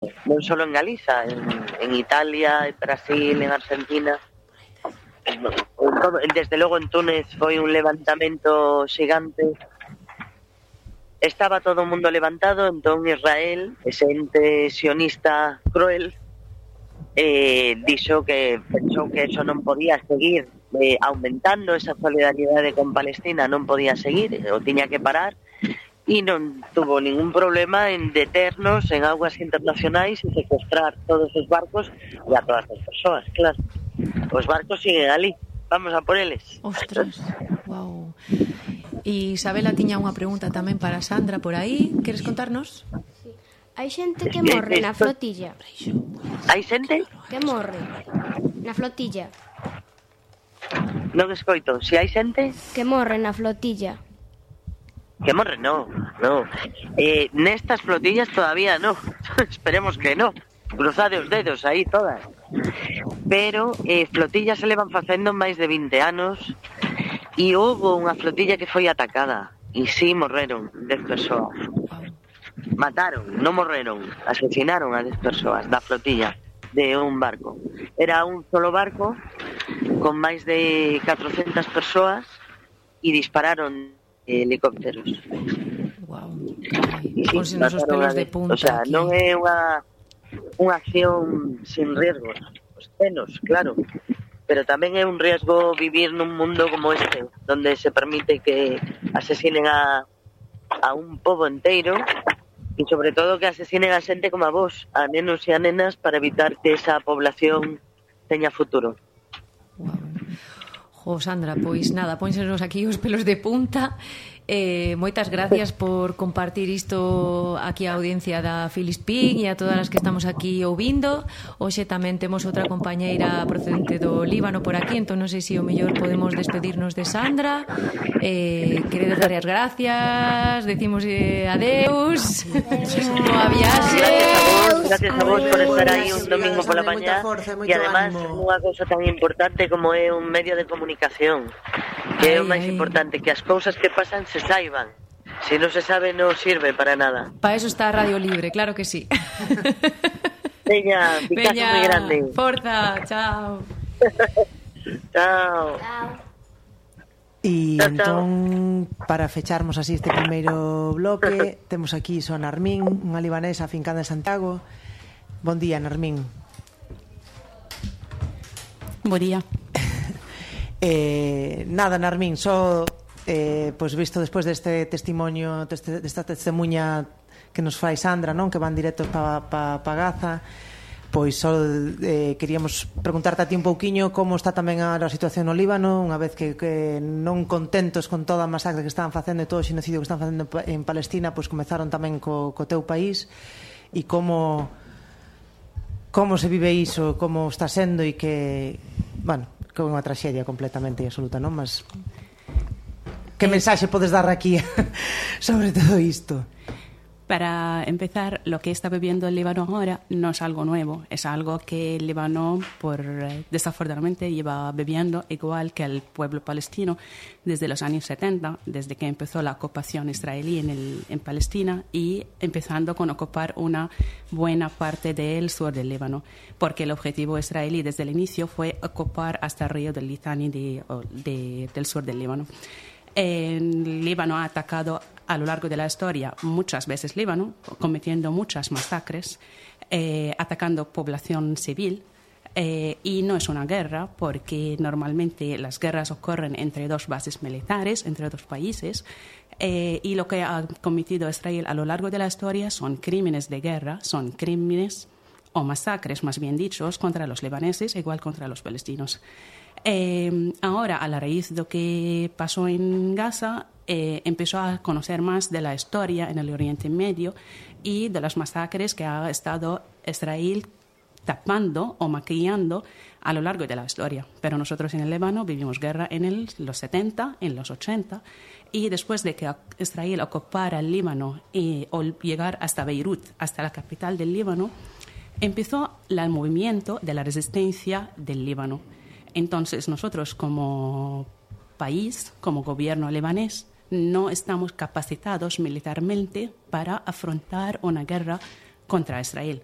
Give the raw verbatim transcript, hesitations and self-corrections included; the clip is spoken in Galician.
non só en Galiza, en, en Italia, en Brasil, en Argentina. Desde logo en Túnez foi un levantamento xigante. Estaba todo o mundo levantado, entón Israel, ese ente sionista cruel, eh, dixo que pensou que eso non podía seguir eh, aumentando, esa solidaridade con Palestina non podía seguir, o tiña que parar, e non tuvo ningún problema en deternos en aguas internacionais e secuestrar todos os barcos e a todas as persoas, claro. Os barcos siguen ali, vamos a por eles. Ostras, wow. E Isabela tiña unha pregunta tamén para Sandra por aí. Queres contarnos? Sí. Hai xente que morre na flotilla. Hai xente? Que morre na flotilla. Non escoito. Si hai xente? Que morre na flotilla. Que morre, no, no. Eh, nestas flotillas todavía no. Esperemos que no. Cruzade os dedos aí todas. Pero eh, flotillas se levan facendo máis de vinte anos. E houve unha flotilla que foi atacada e si morreron dez persoas. Mataron, non morreron, asesinaron a dez persoas da flotilla de un barco. Era un solo barco con máis de catrocentas persoas e dispararon helicópteros. Wow. Ponse nos os pelos de punta. O sea, aquí. Non é unha unha acción sin riesgos. Os penos, claro. Pero tamén é un riesgo vivir nun mundo como este, donde se permite que asesinen a, a un pobo inteiro e sobre todo que asesinen a xente como a vos, a nenos e a nenas, para evitar que esa población teña futuro. Wow. Jo, Sandra, pois nada, pónsenos aquí os pelos de punta. Eh, moitas gracias por compartir isto aquí a audiencia da Filispín e a todas as que estamos aquí ouvindo. Hoxe tamén temos outra compañeira procedente do Líbano por aquí, entón non sei se o mellor podemos despedirnos de Sandra. Eh, queredes dar as gracias, decimos eh, adeus. Boa viaxe. Gracias a vos por estar aí un domingo pola mañá e además unha cousa tan importante como é un medio de comunicación, que é o máis importante, que as cousas que pasan se saiban. Si non se sabe, non sirve para nada. Para eso está Radio Libre, claro que sí. Veña, picazo moi grande. Forza, chao. Chao. E entón, para fecharmos así este primeiro bloque, temos aquí son Narmín, unha libanesa afincada en Santiago. Bon día, Narmín. Bon día. eh, nada, Narmín, só eh, pois visto despois deste testimonio, deste, desta testemunha que nos fai Sandra, non, que van directos para pa, pa Gaza, pois só eh, queríamos preguntarte a ti un pouquiño como está tamén a, a situación no Líbano, unha vez que, que non contentos con toda a masacre que estaban facendo e todo o xenocidio que están facendo en Palestina, pois comezaron tamén co, co teu país, e como como se vive iso, como está sendo, e que, bueno, que é unha traxedia completamente e absoluta, non? Mas que mensaxe podes dar aquí sobre todo isto? Para empezar, lo que está viviendo el Líbano ahora no es algo nuevo, es algo que el Líbano, por, desafortunadamente, lleva viviendo igual que el pueblo palestino desde los años setenta, desde que empezó la ocupación israelí en, el, en Palestina y empezando con ocupar una buena parte del sur del Líbano, porque el objetivo israelí desde el inicio fue ocupar hasta el río del Litani de, de, del sur del Líbano. El Líbano ha atacado a lo largo de la historia muchas veces Líbano, cometiendo muchas masacres, eh, atacando población civil, eh, y no es una guerra porque normalmente las guerras ocurren entre dos bases militares, entre dos países, eh, y lo que ha cometido Israel a lo largo de la historia son crímenes de guerra, son crímenes o masacres, más bien dichos, contra los libaneses, igual contra los palestinos. Eh, ahora, a la raíz de lo que pasó en Gaza, eh, empezó a conocer más de la historia en el Oriente Medio y de las masacres que ha estado Israel tapando o maquillando a lo largo de la historia. Pero nosotros en el Líbano vivimos guerra en el, los setenta, en los ochenta, y después de que Israel ocupara el Líbano y o llegar hasta Beirut, hasta la capital del Líbano, empezó el movimiento de la resistencia del Líbano. Entonces, nosotros como país, como gobierno libanés, no estamos capacitados militarmente para afrontar una guerra contra Israel.